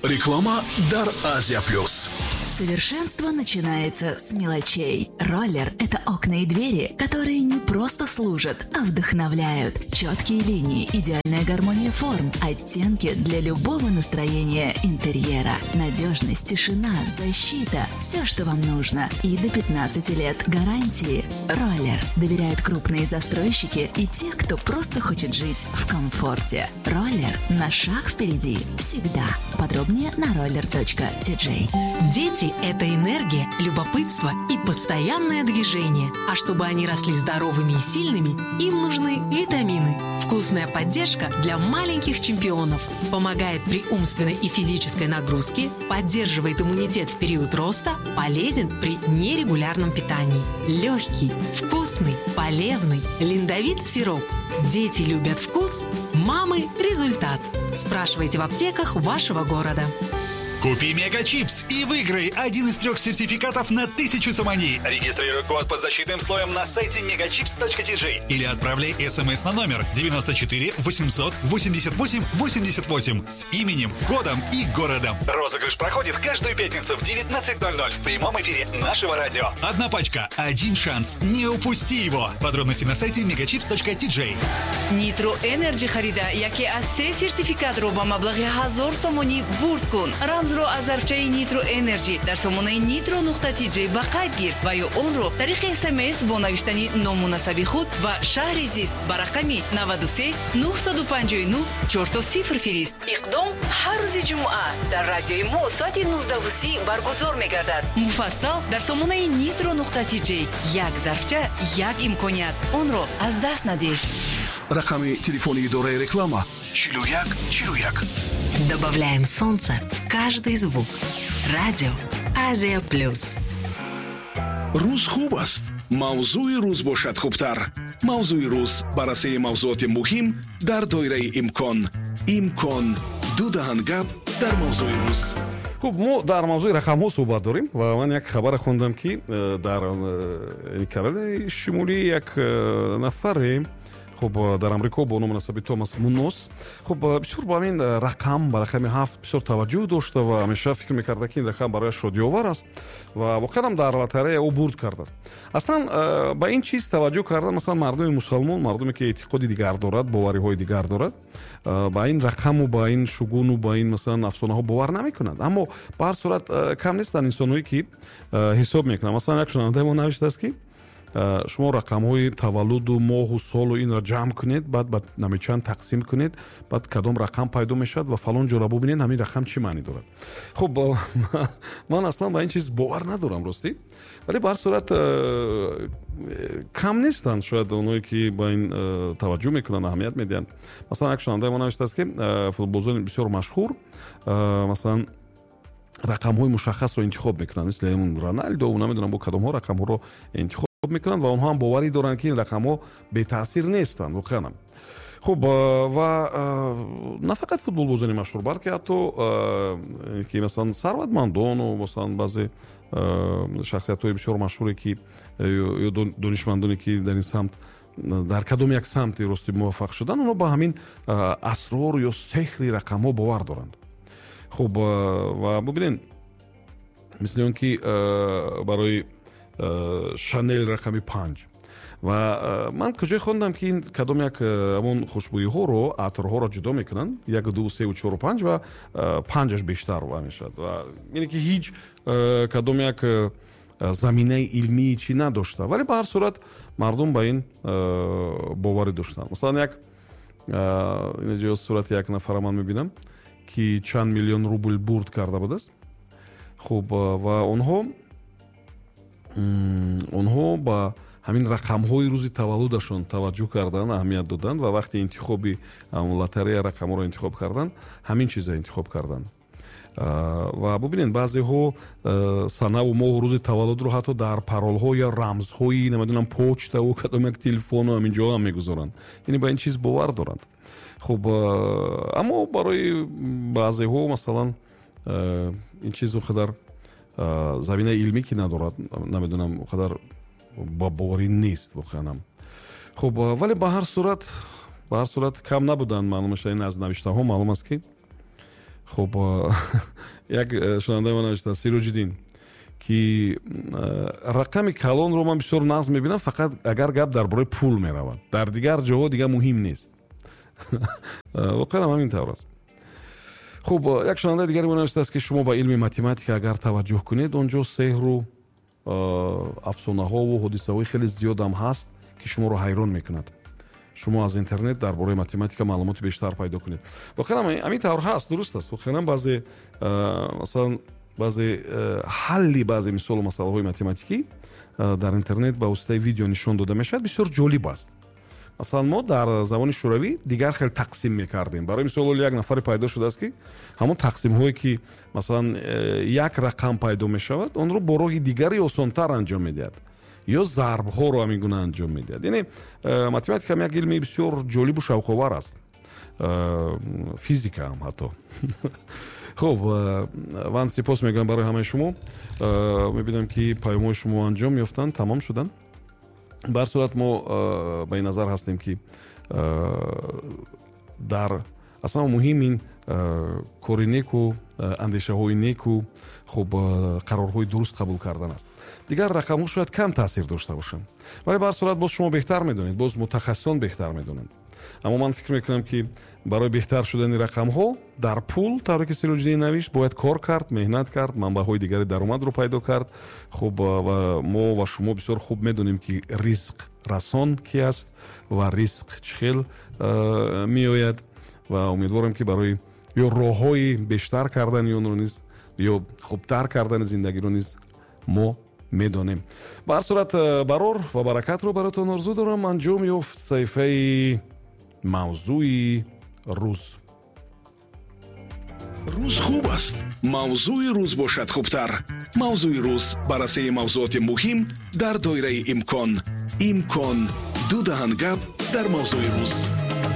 Реклама дар Азия Плюс. Совершенство начинается с мелочей. Роллер – это окна и двери, которые не просто служат, а вдохновляют. Четкие линии, идеальная гармония форм, оттенки для любого настроения интерьера. Надежность, тишина, защита – все, что вам нужно. И до 15 лет гарантии. Роллер доверяют крупные застройщики и те, кто просто хочет жить в комфорте. Роллер на шаг впереди всегда. Подробнее на roller.tj. Дети – это энергия, любопытство и постоянное движение. А чтобы они росли здоровыми и сильными, им нужны витамины. Вкусная поддержка для маленьких чемпионов. Помогает при умственной и физической нагрузке, поддерживает иммунитет в период роста, полезен при нерегулярном питании. Легкий, вкусный, полезный Линдовит сироп. Дети любят вкус, мамы – результат. Спрашивайте в аптеках вашего города. Купи Мегачипс и выиграй один из трех сертификатов на 1000 сомони. Регистрируй код под защитным слоем на сайте megachips.tj или отправляй смс на номер 94 888 88 с именем, годом и городом. Розыгрыш проходит каждую пятницу в 19:00 в прямом эфире нашего радио. Одна пачка, один шанс. Не упусти его. Подробности на сайте megachips.tj. Нитро Энерджи харида яке аз се сертификатро ба маблағи 1000 сомонӣ бурд кун. Рамзро аз зарфчаи Нитро Энерджи дар сомонаи nitro.tj ба қайд гир ва ё онро тариқи СМС бо навиштани ному насаби худ ва шаҳри зист ба рақами 93 959 00 фирист. Иқдом ҳар рӯзи ҷумъа дар радиои мо соати 19:30 баргузор мегардад. Муфассал дар сомонаи nitro.tj. Як зарфча, як имконият, онро аз даст надеҳ. Рақами телефони идораи реклама: 41 41. Добавляем солнце в каждый звук. Радио Азия Плюс. Рӯз хуб аст, мавзӯи рӯз бошад хубтар. Мавзӯи рӯз: баррасии мавзӯоти муҳим дар доираи имкон. Имкон ду даҳан гап дар мавзӯи рӯз. Хуб, мо дар мавзӯи рақамҳо суҳбат дорем ва ман як хабаре хондам, ки дар Каролинаи Шимолӣ як нафаре, хуб, дар Амрико бо ному насаби Томас Мунос, хуб, бисёр ба ҳамин рақам, ба рақами 7 бисёр таваҷҷӯҳ дошта ва ҳамеша фикр мекарда, ки ин рақам барояш шодиовар аст ва воқеан дар лотарея ӯ бурд кардааст. Аслан ба ин чиз таваҷҷӯҳ кардан, масалан, мардуми мусалмон, мардуме ки эътиқоди дигар дорад, бовариҳои дигар дорад, ба ин рақаму ба ин шугуну ба ин, масалан, афсонаҳо бовар намекунанд. Аммо ба ҳар сурат кам нестанд инсонҳое, ки ҳисоб мекунанд. Масалан, як шунавандаи мо навиштааст, ки шумо рақамҳои таваллуду моҳу солу инро ҷамъ кунед, баъд ба намечанд тақсим кунед, баъд кадом рақам пайдо мешавад ва фалон ҷора бубинед, ҳамин рақам чӣ маънӣ дорад. Хуб, ман аслан ба ин чиз бовар надорам, ростӣ, вале ба ҳар сурат кам нестанд шояд онҳое, ки ба ин таваҷҷӯҳ мекунанд, аҳамият медиҳанд. Масалан, як шунавандаи мо навиштааст, ки футболбозони бисёр машҳур, масалан, рақамҳои мушаххасро интихоб мекунанд, мисли Роналдо, намедонам, бо кадомҳо рақамҳоро интихоб мекунанд ва онҳо ҳам боварӣ доранд, ки ин рақамҳо бетаъсир нестанд воқеанам. Хуб, ва на фақат футболбозони машҳур, балки ҳатто ки, масалан, сарватмандону, масалан, баъзе шахсиятҳои бисёр машҳуре, ки ё донишмандоне, ки дар ин самт, дар кадом як самти рости муваффақ шудан, онҳо ба ҳамин асрор ё сеҳри рақамҳо бовар доранд. Хуб, ва бубинед, мисли он ки барои Шанел рақами 5 ва ман куҷое хондам, ки ин кадом як ҳамон хушбӯиҳоро, атрҳоро ҷудо мекунанд: як, ду, севу чору панҷ, ва панҷаш бештар ва мешавад. Ва ине ки ҳеҷ кадом як заминаи илмии чӣ надошта, вале ба ҳар сурат мардум ба ин боварӣ доштанд. Масалан, як инҷо сурати як нафара ман мебинам, ки чанд миллион рубл бурд карда будааст. Хуб, ва онҳо ба ҳамин рақамҳои рӯзи таваллудашон таваҷҷӯҳ карданд, аҳамият доданд ва вақти интихоби лотарея рақамҳоро интихоб карданд, ҳамин чиза интихоб карданд. Ва бубинед, баъзеҳо санаву моҳу рӯзи таваллудро ҳатто дар паролҳо ё рамзҳои, намедонам, почтаву кадом як телефону ҳамин ҷо ҳам мегузоранд, яъне ба ин чиз бовар доранд. Хуб, аммо барои баъзеҳо, масалан, ин чиз он қадар заминаи илмӣ ки надорад, намедонам, он қадар ба боварӣ нест воқеанам. Хуб, вале ба ҳар сурат кам набуданд. Маълум мешавад, ин аз навиштаҳо маълум аст, ки Хуб, як шунавандаи мо навиштааст, Сироҷиддин, ки рақами калонро ман бисёр нағз мебинам, фақат агар гап дар бораи пул меравад, дар дигар ҷоҳо дигар муҳим нест. Воқеан ҳамин тавр аст. Хуб, як шунавандаи дигаре мо навиштааст, ки шумо ба илми математика агар таваҷҷӯҳ кунед, он ҷо сеҳру афсонаҳову ҳодисаҳои хеле зиёдам ҳаст, ки шуморо ҳайрон мекунад. Шумо аз интернет дар бораи математика маълумоти бештар пайдо кунед. Воқеан ҳамин тавр ҳаст, дуруст аст. Воқеан баъзе, масалан, баъзе ҳалли баъзе мисолу масъалаҳои математикӣ дар интернет ба воситаи видео нишон дода мешавад, бисёр ҷолиб аст. Масалан, мо дар замони шӯравӣ дигар хел тақсим мекардем. Барои мисол, ҳоло як нафаре пайдо шудааст, ки ҳамон тақсимҳое, ки масалан як рақам пайдо мешавад, онро бо роҳи дигари осонтар анҷом медиҳад ё зарбҳоро ҳамин гуна анҷом медиҳад. Яъне математика як илми бисёр ҷолибу шавқовар аст, физика ҳам ҳатто. Хуб, ман сипос мегӯям барои ҳамаи шумо. Мебинам, ки паёмҳои шумо анҷом ёфтанд, тамом шуданд. Ба ҳар сурат, мо ба ин назар ҳастем, ки дар аслан муҳим ин кори неку, андешаҳои неку, хуб, қарорҳои дуруст қабул кардан аст. Дигар рақамҳо шояд кам таъсир дошта бошанд, вале ба ҳар сурат боз шумо беҳтар медонед, боз мутахассисон беҳтар медонанд. Аммо ман фикр мекунам, ки барои беҳтар шудани рақамҳо дар пул, тавре ки Сироҷиддин навишт, бояд кор кард, меҳнат кард, манбаъҳои дигари даромадро пайдо кард. Хуб, ва мо ва шумо бисёр хуб медонем, ки ризқ расон ки аст ва ризқ чӣ хел меояд, ва умедворам, ки барои ё роҳҳои бештар кардани онро низ ё хубтар кардани зиндагиро низ мо медонем. Ба ҳар сурат, барор ва баракатро баротон орзу дорам. Анҷом ёфт саҳифаи мавзӯи рӯз. Рӯз хуб аст, мавзӯи рӯз бошад хубтар. Мавзӯи рӯз: баррасии мавзӯоти муҳим дар доираи имкон. Имкон: ду даҳан гап дар мавзӯи рӯз.